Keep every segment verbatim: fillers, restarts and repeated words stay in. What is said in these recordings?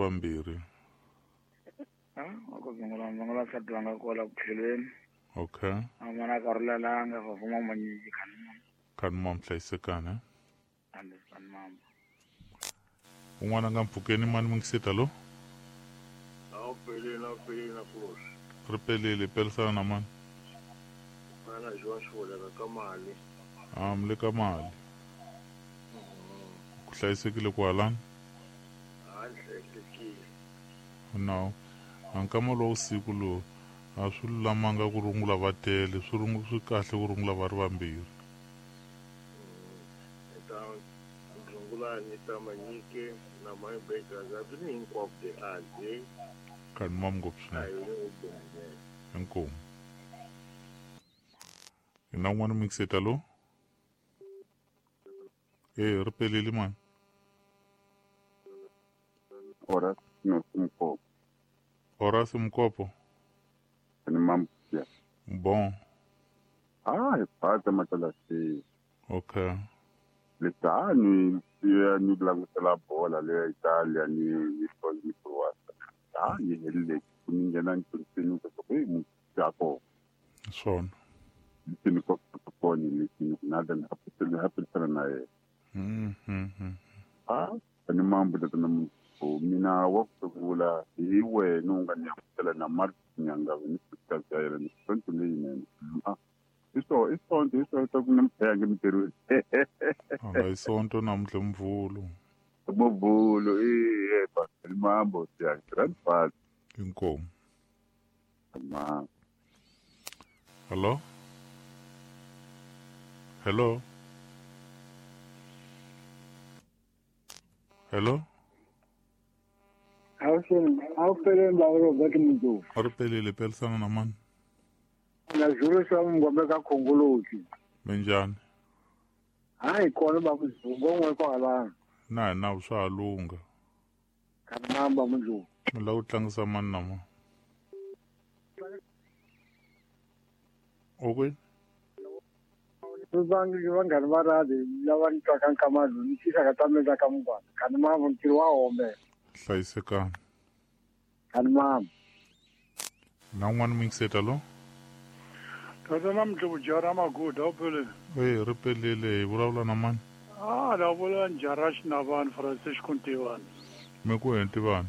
vambirhi. Ah, wa ku sungula ndzi nga nsati wanga kwala ku tlhelweni. Okay. A mana ka rulelanga fa fuma manyiki khani. Khani mam hlayisekana. Ande khani mam. Un'wana nga mpfukeni mani mingiseta lo? A pelele na pelele na kulos. Ri pelele pelisana na mani. Mana Joan Xoleka ka mali. Ah, mle ka mali. Ku hlayisekile kwalano? A hlayisekile. No. Ankama lowu siku lowu a swi lulamanga ku rungula va tele swi rungu swi kahle ku rungula va ri vambirhi. Ta rungula ni ta manyike na my bakers a byi hinkwavo de a de. Khani mam ngopfu swinene. Inkomu. Ina un'wana mixeta lo? Eh, ri pelele mani. Horace no Mkopo. Horace Mkopo. Ni mambuya. Bon. Ah, ipata matalasi. Okay. Letani ya ni langutela bola le Italia ni ni ni Croatia. Ah, ni hele ku nghena ntini ku ku mu jako. Swona. Ni ko ko ni ni na den happy happy na ye. Mhm mhm. Ah, ni mambo da na mu mina wa ku hi wena u nga ni amukela na Martin Nyanga ni ka yena ni sonto leyinene. Ah, iso isonto isonto ku namphaya ngemtirhweni. A isonto namuntlha Mvhulu. Mvhulu eh ba mambo ya grandfather. Inkomu. Ma. Hello? Hello? Hello? Awuphelele baba Robert Mdlovu. A ri pelele pelisana na mani? Na Zulu swa Mngombe ka Khongolosi. Minjhani? Hayi kona baba Mdlovu ngon'we kwalano. Na hina swa ha lungha. Khani mamba Mdlovu. Mi lava ku tlangisa mani na mani? U kwini? Vangi vanghani va radi lava ni twaka nkamano ni tixaka ta mina ka mungwana. Khani mamba ntirho wa hombe. Hlayisekani. Khani mamba. Na un'wana mixeta lo? Tata namuntlha jara maguda wu pelele. Eh, ri pelele hi vulavula na mani? Ah, la vula njara Xinavani Francisco Ntivani. Mi ku hi Ntivani?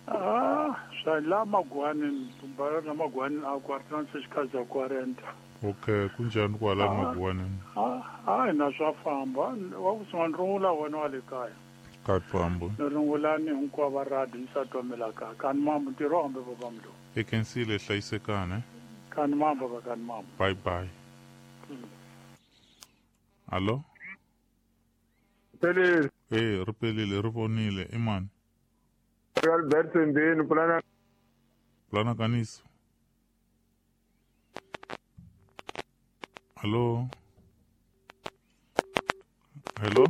Ah, swa la Magwani, bara la Magwani a quarante xikaza quaranta. Okay, kunjhani kwala Magwani? Ah, ah, na swa famba. Wa ku sungula rungula wena wa le kaya. Ka famba. Ni rungula ni hinkwavo va radi ni sa twamela ka. Khani mambo ntirho hambe baba Mdlovu. I khensile hlayisekani. Khani mambo ka khani mambo. Bye bye. Allo? Pelele. Eh, ri pelele ri vonile i mani? Albert Mbeni pulana Pulana Kaniso. Hello? Hello?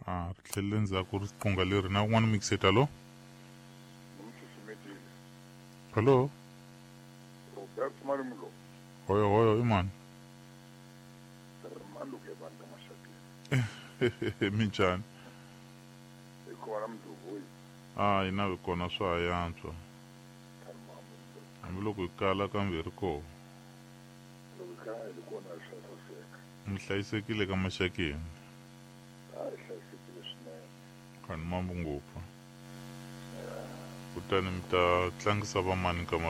Ah, ri tlhelele ndzhaku riqingho leri na un'wana mixeta lo? Hello? Robert Marimlo. Hoyo hoyo i mani? Maluke vanhu mashakeni. Minjhani? Hi kona Mdlovu. Ah, hina hi kona swa ha yantswa. Hambiloko hi kala kambe hi ri kona. Loko hi kala hi kona swa saseka. Mi hlayisekile ka maxakeni? A hi hlayisekile swinene. Khani mambo ngopfu. Kutani mi ta tlangisa vamani nkama